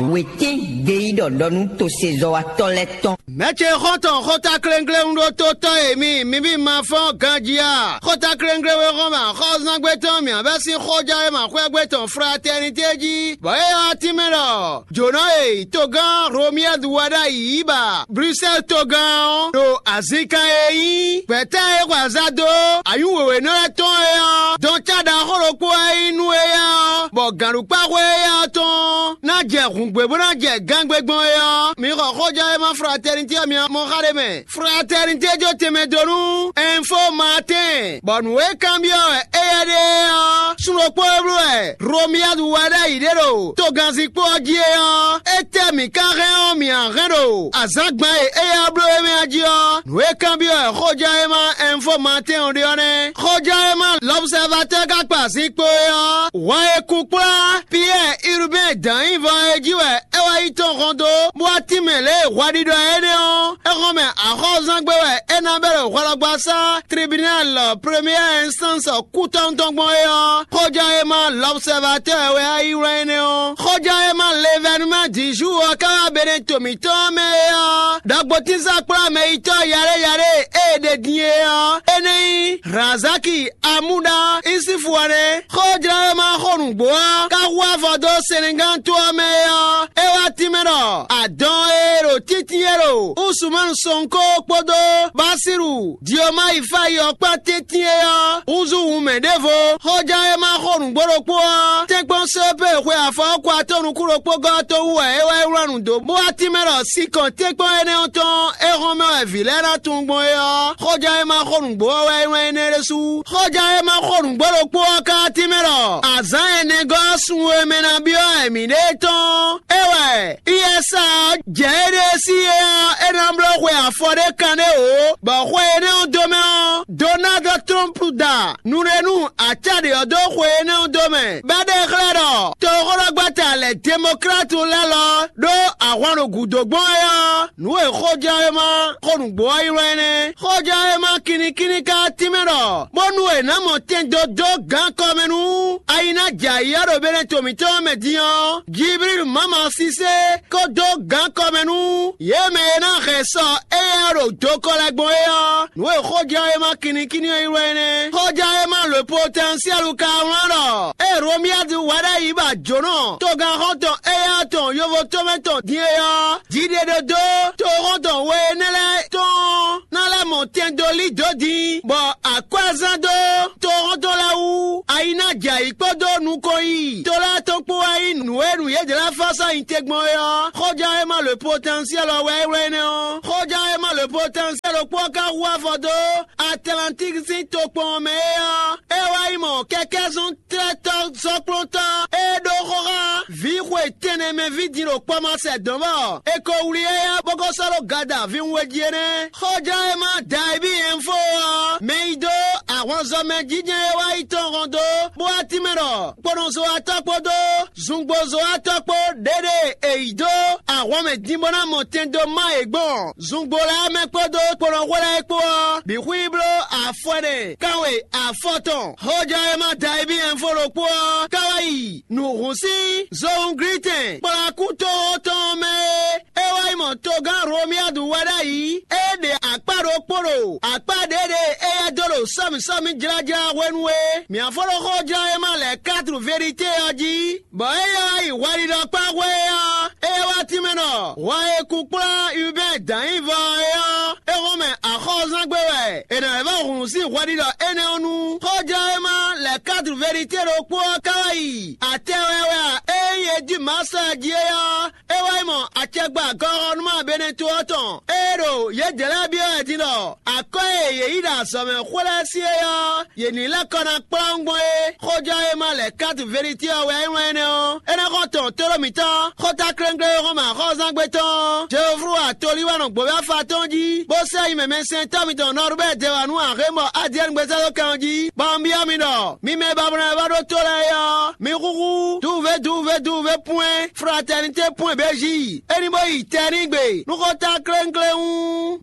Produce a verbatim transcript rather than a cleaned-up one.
Wětín gbeyíɖɔ ɖɔ nú tosezɔ́watɔ́ lɛ́ɛ tɔn. Mɛ̌ ce xɔ́ntɔn xóta kléŋkléŋ ɖó tó tɔ́ e mi, mi ví ma fɔ́n ganjí a? Xóta kléŋkléŋ e xɔ́n mɛ axɔ́zángbé tɔn mǐ vɛ́ sín xójá e ma xwɛ́gbé tɔn fratɛ́nitě jí, bɔ é ɔ́ tínmɛ ɖɔ jǒnɔ e togán Romiyɛ́du wɛ ɖ'ayǐ yi ba Brusɛ́l togán ɔ́ ɖo azǐnkan e nyí gbɛ̌ta e xwe azǎ dó anyǔ wěwénɔ lɛ́ɛ tɔn é ɔ́, dɔn cá ɖaxó ɖokpó wɛ nyí nú éyɛ́ ɔ́, bɔ gǎnɖukpáxwé éyɛ́ ɔ́ tɔn ná jɛ hǔngbé bó ná jɛ gángbé gbɔn é ɔ́, mi xɔ xójɔ́ e ma fratɛ́nitě ɔ́ mi mɔ xá ɖé mɛ. Fratɛ́nitě jó tɛnmɛ dó nú Ɛnfo Maatɛ́n, bɔ nǔ e kanbyɔ́ wɛ éyɛ́ ɖe é ɔ́, sun ɖokpó e bló wɛ Romiyadu wɛ ɖ'ayǐ ɖe ɖo togannzikpó ɔ́ jí é ɔ́, étɛ́ mǐ ka hɛn ɔ́, mǐ a hɛn ɖo azǎngban e éyɛ́ bló é mɛ ɔ́ jí ɔ́? Nǔ e kanbyɔ́ wɛ xójɔ́ e ma Ɛnfo Maatɛ́n ɔ́ ɖe ɔ́ nɛ́. Xójɔ́ e ma Lɔbsɛvatɛ́ ka kpa zinkpo é ɔ́, hwɛ e kunkplá Piyɛ́ɛ Urubɛ́n dǎn nyí vɔ é jí wɛ é wá yi tɔn hɔn dó, bó wá tínmɛ lě e hwaɖiɖɔ énɛ́ ɔ́, é hɔn mɛ axɔ́zán gbé wɛ é ná bɛ́ ɖo hwɛlɔgbasá tribunal première instance kútɔ́ntɔn gbɔn é ɔ́, xójɔ́ e ma Lɔbsɛvatɛ́ wɛ wá yi wlán énɛ́ ɔ́. Xójɔ́ e ma Levɛnuma Dizu ɔ́ ka wá Beneto mǐtɔn mɛ é ɔ́, ɖɔgbotínzán kplá mɛ yitɔ́ yaɖé yaɖé e è ɖe din é ɔ́, é nɛ́ nyí Razaki Amúɖá Isifu ɔ́ nɛ́. Xójlɔ́wéma xó nǔgbó ɔ́ ka hu afɔ dó Senegán to ɔ́ mɛ é ɔ́, é wá tínmɛ ɖɔ adɔn e ɖo títí e ɖo Usumanu Sɔnkó kpódó Basiru Diomayi Fayi ɔ́ kpán tɛ́ntin é ɔ́ húzú wunmɛ ɖěvo. Xójlɔ́wéma xó nǔgbó ɖokpó ɔ́, tɛ́nkpɔ́n Sopée xwe afɔ ɔ́ kɔ atɔ́ nukún ɖokpó gɔ́ tó wú wɛ é wá yi wlán nǔ dó, bó wá tínmɛ ɖɔ sinkɔn tɛ́nkpɔ́n énɛ́ ɔ́ tɔn é hɔn mɛ wɛ vǐ lɛ́ɛ ná tunwun gbɔn é ɔ́, xóján e ma xo nǔgbó ɔ́ wɛ é wɛn énɛ́ ɖésú. Xóján e ma xo nǔgbó ɖokpó ɔ́ ka ɔ́ tínmɛ ɖɔ azǎn ɛnɛgɔ́ ɔ́ sun e mɛ ná byɔ́ wɛ mǐɖée tɔn é wɛ iyɛsa ɔ́ jɛ éɖée sí é ɔ́, é ná bló xwe afɔ ɖé kanɖé wǒ, bɔ xwe énɛ́ ɔ́ dó mɛ ɔ́, Donald Trump da nǔɖénu acáɖě ɔ́ dó xwe énɛ́ ɔ́ dó mɛ, bɔ é ɖe xlɛ́ ɖɔ toxóɖɔgbata lɛ̌ Demɔklatu lɛ́ɛ lɔ ɖó ahwan ɖo gǔdo gbɔn é ɔ́, nǔ e xójɛwéma xó nǔgbó ɔ́ ylɔ́ é nɛ́. Xójɛwéma kinnikínní ka tínmɛ ɖɔ bónú è nǎ mɔ tɛn dó dó gǎn kɔ mɛ nú ayi ná jɛ ayǐ ɔ́ ɖo Beneto mǐtɔn ɔ́ mɛ din ɔ́, Jiblílu Mama Sisé kó dó gǎn kɔ mɛ nú yě mɛ e ná hɛn sɔ éyɛ́ ɔ́ ɖo dokɔ lɛ́ɛ gbɔn é ɔ́, nǔ e xójɛwéma kinnikínní ɔ́ ylɔ́ é nɛ́. Xójɛwéma le potɛnsiɛlu ka wlán ɖɔ ée Romiyadu wɛ ɖ'ayǐ ba jǒnɔ togán xɔ́ntɔn éyɛ́ tɔn yovo tomɛ tɔn din é ɔ́, jiɖeɖodó toxɔ́ntɔn we énɛ́ lɛ́ɛ tɔn ná lɛ́ mɔ tɛn dó lí dǒ din, bɔ akwɛ́zán dó toxɔ́ntɔn lɛ́ɛ wú ayi ná jɛ ayǐ kpódó nukɔn yiyi to lɛ́ɛ tɔn kpó wɛ nyí nǔ e nǔ yědɛ́ lɛ́ɛ fá sɔ́ nyi te gbɔn é ɔ́, xóján e ma le potɛnsiɛl ɔ́ wɛ é wlɛ́ énɛ́ ɔ́. Xóján e ma le potɛnsiɛl ɖokpó ɔ́ ka hu afɔ dó Atlantíki sín tokpɔn ɔ́ mɛ é ɔ́, é wá yi mɔ kɛkɛ́zɔn tlɛ́tɔ́ zɔ́kplɔ́ntɔ́ e ɖó xó xá vǐ xwe tɛnmɛ ví din ɖo kpɔ́ ma sɛ dɔ̌n bɔ è ko wlí éyɛ́ bó ko sɔ́ ɖó gada vǐwun e jí é nɛ́. Xóján e ma Dayibí Ɛnfo ɔ́, mɛ yi dó ahwanzɔmɛ jínjɛ́n e wá yi tɔn hɔn dó, bó wá tínmɛ ɖɔ kponɔzɔ́watɔ́ kpódó zungbozɔ́watɔ́ kpó ɖěɖe è yi dó ahwan mɛ din bó ná mɔ tɛn dó má yě gbɔn zungbo lɛ́ɛ mɛ kpódó kponɔxwé lɛ́ɛ kpó ɔ́, bǐ xwí bló afɔ ɛnɛ kanwe afɔ tɔn. Xóján e ma Dayibí Ɛnfo ɖokpó ɔ́ ka wá yi nǔhún sín zohúnglítɛn kplɔ́ akútoxo tɔn mɛ é. É wá yi mɔ togán Romiyadu wɛ ɖ'ayǐ, é ɖe akpá ɖokpó ɖo akpá ɖě ɖe éyɛ́ dó ɖo sɔ́mǐsɔ́mǐ jlájlá hwenu e mǐ fɔ́n ɖó xójlɔ́ e ma lɛ̌ katru verité ɔ́ jí, bɔ é ylɔ́ yi hwɛɖiɖɔkpá hwe ɔ́, é wá tínmɛ ɖɔ hwɛ e kunkplá Ubɛ́ɛ dǎn nyí vɔ é ɔ́, é hɔn mɛ axɔ́zán gbé wɛ è nǎ lɛ́ vɔ́ hun sín hwɛɖiɖɔ énɛ́ ɔ́ nu. Xójlɔ́ e ma lɛ̌ katru verité ɖokpó ɔ́ ka wá yi atɛ wɛ wɛ a? Ée nyí e jí mǎ sɔ́ ɛ jí é ɔ́, é wá yi mɔ acɛgba gɔxɔnúmá Beneto ɔ́ tɔn, ée ɖo yědɛɛ lɛ́ɛ byɔ́ wɛ din ɖɔ akɔ́ e yě yi ɖo azɔ̌ mɛ xwlɛ́ sí é ɔ́, yě ní lɛ́ kɔ ná kplɔ́n gbɔn é. Xójɔ́ e ma lɛ̌ kátu Velití ɔ́ wɛ é wlán énɛ́ ɔ́, é ná xɔ tɔn tóɖó mǐtɔn. Xóta klénkléwéxɔ́mɛ axɔ́zángbé tɔn Jeoflu atolíwánɔ gbǒvɛ́ afa tɔn jí, bó sɛ́ yi mɛmɛsɛntɔ́ mitɔn Nɔrubɛ́ɛ dɛwanu Axémɔ Adiɛ́ni gbézɔ́ dó kan ɔ́ jí, bɔ un byɔ́ mi ɖɔ mi mɛ e ba mlɔ́ wɛ vá ɖó tó lɛ́ɛ é ɔ́, mi xúxú duwuvé duwuvé duwuvé pwɛ́n fratɛnitě pwɛ́n bějí, é ní bó yi tɛnígbe nú xóta klénkléwún.